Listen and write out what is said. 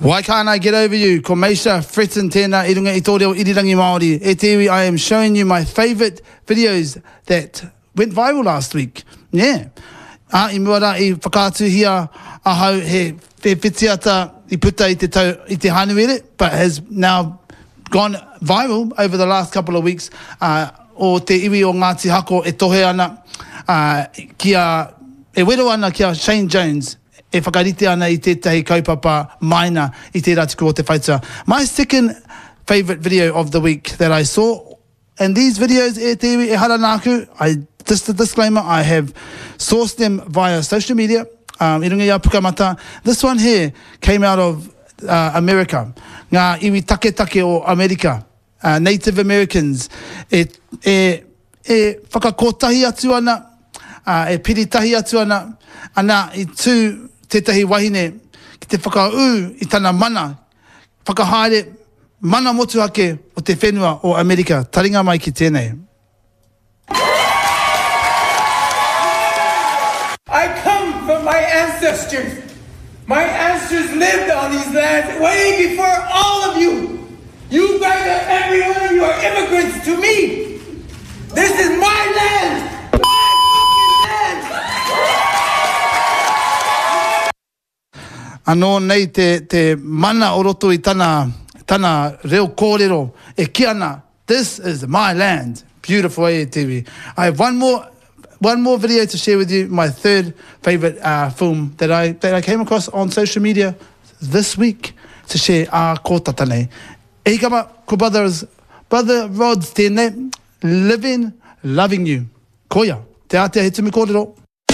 Why can't I get over you? Ko Meisha Fretton tēnā i runga i tō reo irirangi Māori. E te iwi, I am showing you my favourite videos that went viral last week. Yeah. Ā, i mua rā i whakaatuhia ahau he he whitiata i puta i te tau, i te Hānuere, but has now gone viral over the last couple of weeks, ā, o te iwi o Ngāti Hako e tohe ana, ā, ki a, e wero ana ki a Shane Jones, e whakarite ana i tētahi kaupapa maina i tērā tuku o te whaitua. My second favourite video of the week that I saw, and these videos e te iwi ehara nāku, I, just a disclaimer, I have sourced them via social media, um, i runga i a Pukamata. This one here came out of uh, America, ngā iwi taketake o Amerika. Native Americans e, e, e whakakotahi atu ana, ā, e piri tahi atu ana, ana i tū tētahi wahine ki te whakaū i tana mana whakahaere mana motuhake o te whenua o Amerika. Taringa mai ki tēnei. I come from my ancestors. My ancestors lived on these lands way before all of you. You guys are, every one of you are immigrants to me. This is my land. My fucking land. Anō nei te, te mana o roto i tana, tana reo kōrero e kī ana, This is my land. Beautiful eh, te iwi. I have one more, one more video to share with you, my third favourite uh, film that I, that I came across on social media this week to share ā kōtata nei. E hika ma, ko Brothers, Brother Rods tēnei, Living, Loving You. Koia, te ātea he tumu kōrero.